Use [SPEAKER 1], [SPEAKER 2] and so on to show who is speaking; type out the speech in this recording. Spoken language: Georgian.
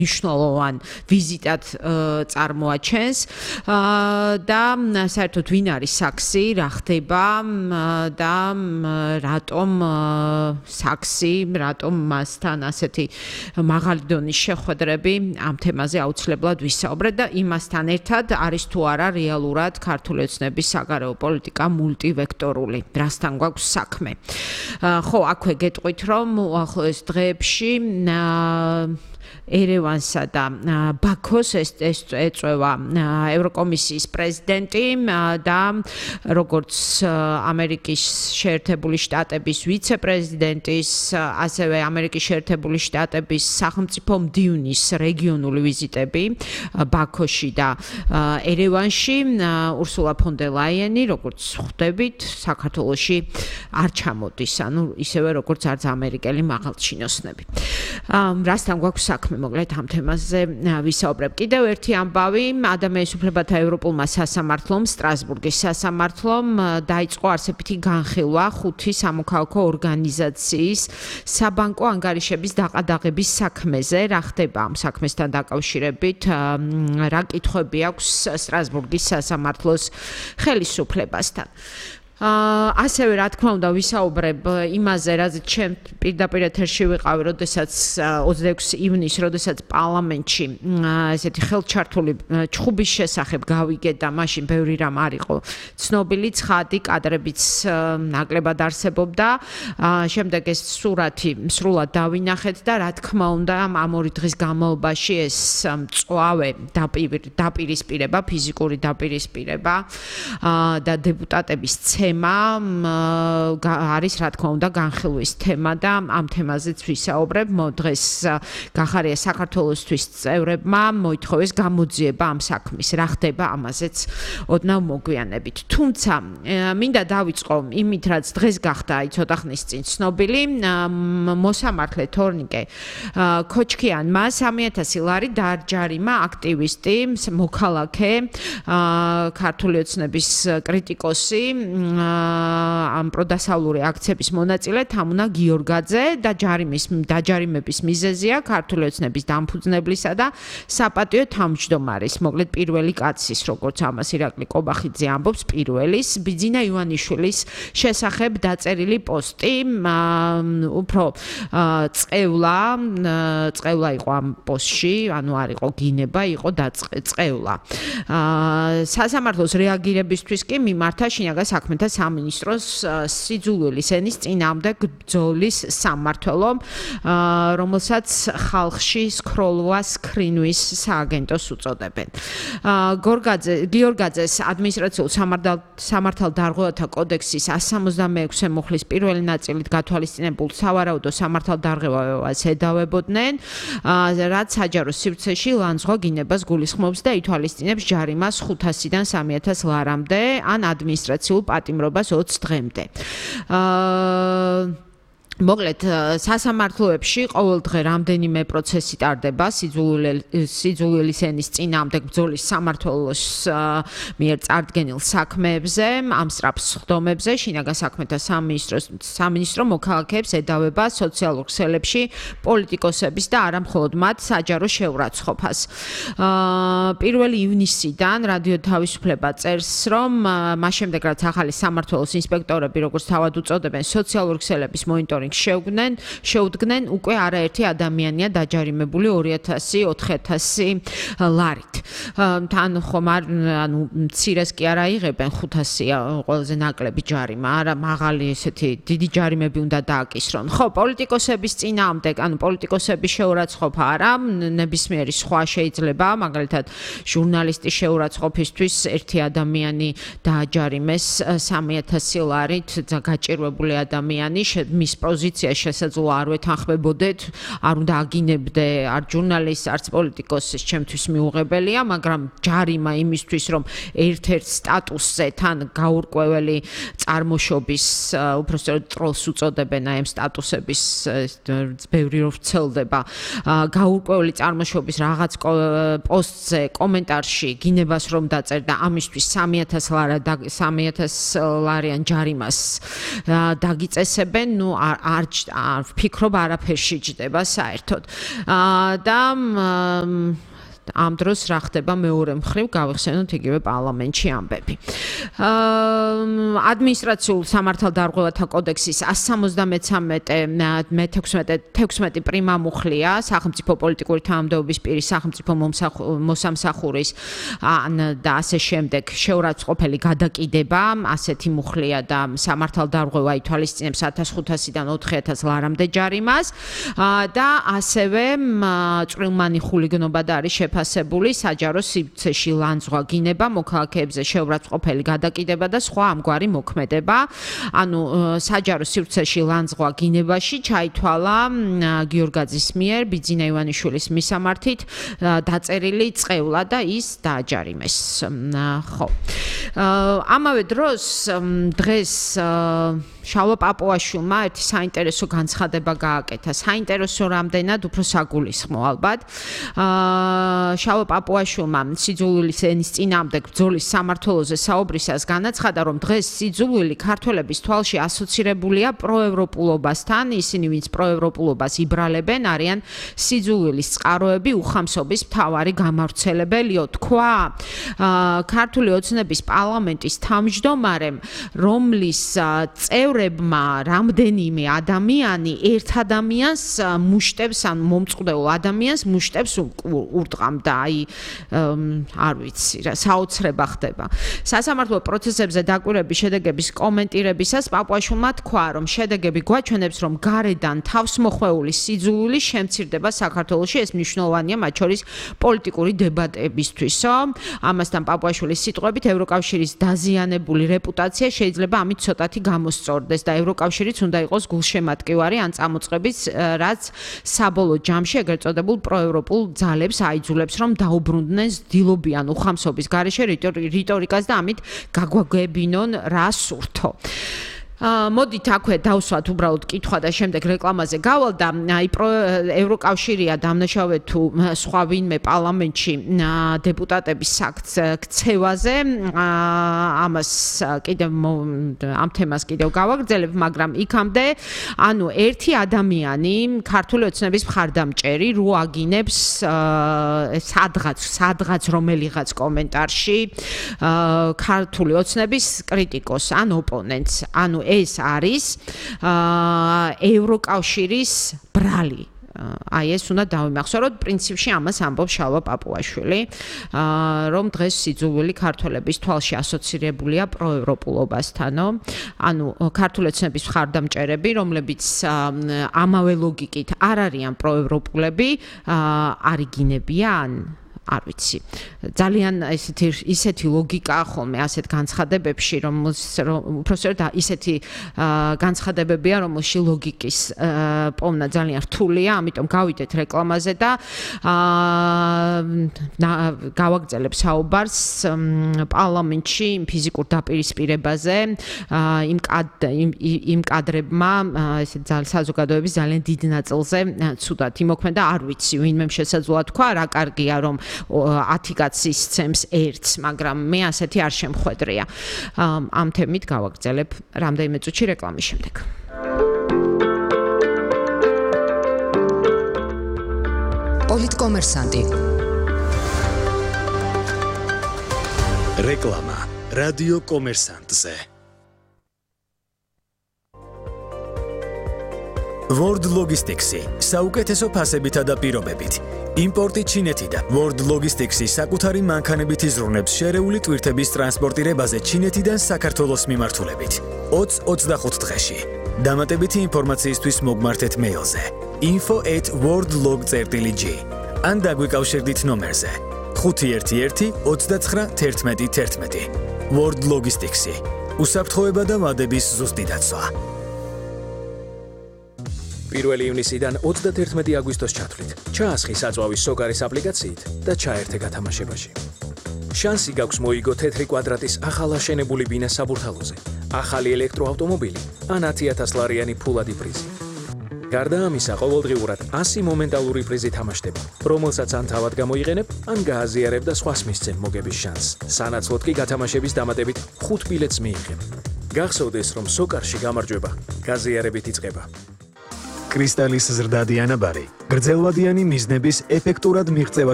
[SPEAKER 1] მნიშვნელოვან ვიზიტად წარმოაჩენს და საერთოდ ვინ არის საქსი, რა ხდება და რატომ საქსი, რატომ მასთან ასეთი მაღალი დონის შეხვედრები ამ თემაზე აუცილებლად ვისაუბრეთ და იმასთან ერთად არის თუ არა რეალურად ქართული ოცნების საგარეო პოლიტიკა მულტივექტორული, რასთან გვაქვს საქმე. ხო, აქვე გეტყვით, რომ უახლოეს დღეებში ერევანსა და ბაქოს ეწევა ევროკომისიის პრეზიდენტი და როგორც ამერიკის შეერთებული შტატების ვიცე-პრეზიდენტის, ასევე ამერიკის შეერთებული შტატების სახელმწიფო მდივნის რეგიონული ვიზიტები ბაქოში და ერევანში, ურსულა ფონ დერ ლაიენი, როგორც ხვდებით, საქართველოში არ ჩამოდის, ანუ ისევე როგორც არც ამერიკელი მაღალჩინოსნები. რასთან გვაქვს საქმე, მოკლედ ამ თემაზე ვისაუბრებ. კიდევ ერთი ამბავი, ადამიანის უფლებათა ევროპულმა სასამართლომ, სტრასბურგის სასამართლომ დაიწყო არსებითი განხილვა 5 სამოქალაქო ორგანიზაციის საბანკო ანგარიშების დაყადაღების საქმეზე. რა ხდება ამ საქმესთან დაკავშირებით, რა კითხვები აქვს სტრასბურგის სასამართლოს ხელისუფლებასთან. ასევე რა თქმა უნდა ვისაუბრებ იმაზე, რაზეც ჩემ პირდაპირ ეთერში ვიყავი, როდესაც 26 ივნისს, როდესაც პარლამენტში ესეთი ხელჩართული ჩხუბის შესახებ გავიგე და მაშინ ბევრი რამ არ იყო ცნობილი, ცხადი კადრებიც ნაკლებად არსებობდა. შემდეგ ეს სურათი სრულად დავინახეთ და რა თქმა უნდა ამ ორი დღის განმავლობაში ეს მწვავე დაპირისპირება, ფიზიკური დაპირისპირება და დეპუტატების არის რა თქმა უნდა განხილვის თემა და ამ თემაზეც ვისაუბრებ. დღეს გახარია საქართველოსთვის წევრებმა მოითხოვეს გამოძიება ამ საქმის. რა ხდება ამაზეც ოდნავ მოგვიანებით. თუმცა მინდა დავიწყო იმით, რაც დღეს გახდა ცოტა ხნის წინ ცნობილი, მოსამართლე თორნიკე ქოჩქიანმა 3,000 ლარი დააჯარიმა აქტივისტი, მოქალაქე, ქართული ოცნების კრიტიკოსი, ამ პროდასავლური აქციების მონაწილე თამუნა გიორგაძე და დაჯარიმების მიზეზია ქართული ოცნების დამფუძნებლისა და საპატიო თავმჯდომარის, მოკლედ პირველი კაცის, როგორც ამას ირაკლი კობახიძე ამბობს, პირველის ბიძინა ივანიშვილის შესახებ დაწერილი პოსტი, უფრო წევლა იყო ამ პოსტში, ანუ არ იყო გინება, იყო წევლა. სასამართლოს რეაგირებისთვის კი მიმართა შინაგან საქმეთა სამინისტროს სიძულვილის ენის წინააღმდეგ ბრძოლის სამმართველომ, რომელსაც ხალხში სქროლვას ქრინვის სააგენტოს უწოდებენ. გიორგაძეს ადმინისტრაციულ სამართალდარღვევათა კოდექსის 166 მუხლის პირველი ნაწილით გათვალისწინებულ სავარაუდო სამართალდარღვევას ედავებოდნენ, რაც საჯარო სივრცეში ლანძღვა გინებას გულისხმობს და ითვალისწინებს ჯარიმას 500-დან 3,000 ლარამდე ან ადმინისტრაციულ პატიმრობას 20 დღემდე. მოკლედ სასამართლოებში ყოველ დღე რამდენიმე პროცესი ტარდება სიძულვილის ენის წინააღმდეგ ბრძოლის სამმართველოს მიერ წარდგენილ საქმეებზე, ამ სწრაფ სხდომებზე. შინაგან საქმეთა სამინისტრო მოქალაქეებს ედავება სოციალურ ქსელებში პოლიტიკოსების და არა მხოლოდ მათ საჯარო შეურაცხყოფას. 1 ივნისიდან რადიო თავისუფლება წერს, რომ მას შემდეგ რაც ახალი სამმართველოს ინსპექტორები, როგორც თავად უწოდებენ, სოციალურ ქსელების მონიტორინგს შეუდგნენ, უკვე არაერთი ადამიანია დაჯარიმებული 2,000-4,000 ლარით. თან ხომ ანუ მცირეს კი არ აიღებენ 500-ია ყველაზე ნაკლები ჯარიმა, არა მაღალი ესეთი დიდი ჯარიმები უნდა დააკისრონ. ხო, პოლიტიკოსების წინააღმდეგ, ანუ პოლიტიკოსების შეურაცხყოფა არა, ნებისმიერი სხვა შეიძლება, მაგალითად ჟურნალისტის შეურაცხყოფისთვის ერთი ადამიანი დააჯარიმეს 3,000 ლარით, გაჭირვებული ადამიანი, მის პოზიცია შესაძლოა არ ვეთანხმებოდეთ, არ უნდა აგინებდე არ ჟურნალისტს, არც პოლიტიკოსს, ჩემთვის მიუღებელი შეუძლებელია, მაგრამ ჯარიმა იმისთვის, რომ ერთ-ერთ სტატუსზე თან გაურკვეველი წარმოშობის, უпростоროდ ტროლს უწოდებენ აი ამ სტატუსების ბევრი რო ვრცელდება, გაურკვეველი წარმოშობის რაღაც პოსტზე, კომენტარში გინებას რომ დაწერდა ამისთვის 3,000 ლარიან ჯარიმას დაგიწესებენ, ნუ არ ვფიქრობ არაფერში ჯდება საერთოდ. და ამ დროს რა ხდება მეორე მხრივ გავიხსენოთ იგივე პარლამენტში ამბები. ადმინისტრაციულ სამართალდარღვევათა კოდექსის 173 პრიმა მუხლია სახელმწიფო პოლიტიკური თანამდებობის პირის სახელმწიფო მოსამსახურის და ასე შემდეგ შეურაცხყოფელი გადაკიდება, ასეთი მუხლია და სამართალდარღვევა ითვალისწინებს 1500-დან 4000 ლარამდე ჯარიმას და ასევე წვრილმანი ხულიგნობა და არის შეფასებული საჯარო სივრცეში ლანძღვა, გინება, მოქალაქეებზე შეურაცხყოფელი გადაკიდება და სხვა ამგვარი მოქმედება. ანუ საჯარო სივრცეში ლანძღვა გინებაში ჩაითვალა გიორგაძის მიერ ბიძინა ივანიშვილის მისამართით დაწერილი წყევლა და ის დააჯარიმეს. ხო. ამავე დროს დღეს შალვა პაპუაშვილმა ერთი საინტერესო განცხადება გააკეთა. საინტერესო რამდენად უფრო საგულისხმო ალბათ. შალვა პაპუაშვილმა სიძულვილის ენის წინააღმდეგ ბრძოლის სამმართველოზე საუბრისას განაცხადა, რომ დღეს სიძულვილი ქართველების თვალში ასოცირებულია პროევროპულობასთან. ისინი, ვინც პროევროპულობას იბრალებენ, არიან სიძულვილის წყაროები, უხამსობის მთავარი გამავრცელებელიო, თქვა ქართული ოცნების პარლამენტის თავმჯდომარემ, რომლის წევრებმა რამდენიმე ადამიანი ერთ ადამიანს მუშტებს, ან მომწყვლელ ადამიანს მუშტებს ურტყამდა, აი არ ვიცი რა, საოცრება ხდება. სასამართლო პროცესებზე დაკვირვების შედეგების კომენტირებისას პაპუაშვილმა თქვა, რომ შედეგები გვაჩვენებს, რომ გარედან თავსმოხვეული სიძულვილი შემცირდება საქართველოში, ეს მნიშვნელოვანია მათ შორის პოლიტიკური დებატებისთვისო. ამასთან პაპუაშვილის სიტყვებით ევროკავშირის დაზიანებული რეპუტაცია შეიძლება ამით ცოტათი გამოსწორდეს და ევროკავშირიც უნდა იყოს გულშემატკივარი ან წამოწყების, რაც საბოლოო ჯამში ეგრეთ წოდებულ პროევროპულ ძალებს აიძულებს, რომ დაუბრუნდნენ დილობიან უხამსობის გარეშე რიტორიკას და ამით გაგვაგებინონ რა სურთო. მოდით აქვე დავსვათ უბრალოდ კითხვა და შემდეგ რეკლამაზე გავალ და აი ევროკავშირია დამნაშავე თუ სხვა ვინმე პარლამენტში დეპუტატების ქცევაზე ამას კიდევ ამ თემას კიდევ გავაგრძელებ, მაგრამ იქამდე ანუ ერთი ადამიანი ქართული ოცნების მხარდამჭერი რო აგინებს სადღაც რომელიღაც კომენტარში ქართული ოცნების კრიტიკოს ან ოპონენტს, ანუ ეს არის ევროკავშირის ბრალი. აი ეს უნდა დავიმახსოვროთ, პრინციპში ამას ამბობს შალვა პაპუაშვილი, რომ დღეს სიძულვილი ქართველების თვალში ასოცირებულია პროევროპულობასთანო, ანუ ქართული ოცნების მხარდამჭერები, რომლებიც ამავე ლოგიკით არ არიან პროევროპულები, არიგინებიან არ ვიცი. ძალიან ისეთი ლოგიკაა ხოლმე ასეთ განცხადებებში, რომ უბრალოდ ისეთი განცხადებებია, რომელში ლოგიკის პოვნა ძალიან რთულია, ამიტომ გავიდეთ რეკლამაზე და გავაგრძელებ საუბარს პარლამენტში ფიზიკურ დაპირისპირებაზე იმ კადრებმა, ესეთ საზოგადოების ძალიან დიდ ნაწილზე ცუდად იმოქმედა, არ ვიცი, ვინმე შესაძლოა თქვა, რა კარგია რომ 10 კაცს ისცემს ერთს, მაგრამ მე ასეთი არ შემხვედრია. ამ თემით გავაგრძელებ რამდენიმე წუთში რეკლამის შემდეგ.
[SPEAKER 2] პოლიტკომერსანტი.
[SPEAKER 3] რეკლამა რადიო კომერსანტზე. World Logistics-ი საუკეთესო ფასებითა და პირობებით. იმპორტი ჩინეთიდან. World Logistics-ი საკუთარი მანქანებით იზრუნებს შერეული ტვირთების ტრანსპორტირებაზე ჩინეთიდან საქართველოს მიმართულებით. 20-25 დღეში. დამატებითი ინფორმაციისთვის მოგმართეთ მეილზე info@worldlog.gr ან დაგვიკავშირდით ნომერზე 511 29 11 11. World Logistics-ი. უსაფრთხოება და ვადების ზუსტი დაცვა.
[SPEAKER 2] 1 ივნისიდან 31 აგვისტოს ჩათვლით. ჩაასხი საწვავის სოკარის აპლიკაციით და ჩაერთე გათამაშებაში. შანსი გაქვს მოიგო თეთრი კვადრატის ახალ აშენებული ბინა საბურთალოზე, ახალი ელექტროავტომობილი ან 10,000 ლარიანი ფულადი პრიზი. გარდა ამისა, ყოველდღიურად 100 მომენტალური პრიზი თამაშდება, რომელსაც ან თავად გამოიყენებ, ან გააზიარებ და სხვას მისცემ მოგების შანსს. სანაცვლოდ კი გათამაშების დამატებით 5 ბილეთს მიიღებ. გახსოვდეს, რომ სოკარში გამარჯვება გაზიარებით იწყება.
[SPEAKER 3] კრისტალის ზრდადი ანაბარი გრძელვადიანი მიზნების ეფექტურად მიღწევაში